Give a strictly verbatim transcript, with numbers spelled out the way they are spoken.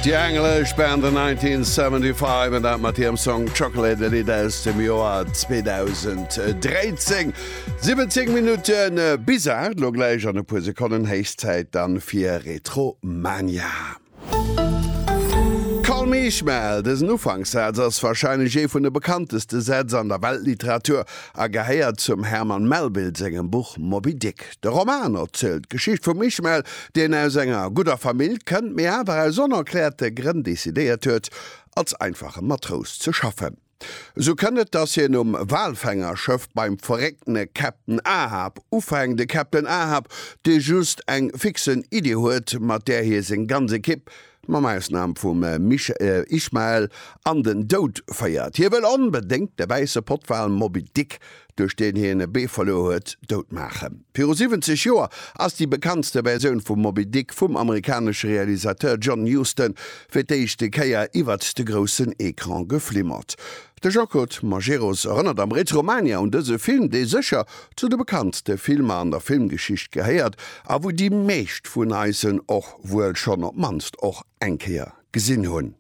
Déi englesch Band The nineteen seventy five an dat mat hirem Song Chocolate, e Lidd aus dem Joer zweedausend dréizéng. siwwenzéng Minutte bis aacht, lo gläich an e puer Sekonnen héich Zäit dann fir Retromania. Call me Ishmael, dësen Ufankszaz ass warscheinlech ee vun de bekannteste Sätz an der Weltliteratur a gehéiert zum Herman Melville sengem Buch Moby Dick. De Roman erzielt d'Geschicht vum Ishmael, deen aus enger gudder Famill kënnt, mee awer aus onerkläerte Grënn decidéiert huet, als einfache Matrous ze schaffen. Sou kënnt et, dass hien um Walfängerschëff beim verrécktene Captain Ahab ufänkt, de Captain Ahab, dee just eng fixe Iddi huet, mat där hie seng ganz Ekipp, mam Ausnam vum Ishmael, an den Doud féiert. Hie wëll onbedéngt de wäisse Pottwal Moby Dick, duerch deen hien e Bee verluer huet, dout maachen. Viru siwwenzeg Joer ass déi bekanntste Versioun vum Moby Dick vum amerikanesche Realisateur John Huston fir d'éischte Kéier iwwert de groussen Ecran geflimmert. De Jean-Claude Majerus erënnert am Retromania un dëse Film, dee sécher zu de bekanntste Filmer an der Filmgeschicht gehéiert a wou déi meescht vun eis en och wuel schonn op d'mannst och eng Kéier gesinn hunn.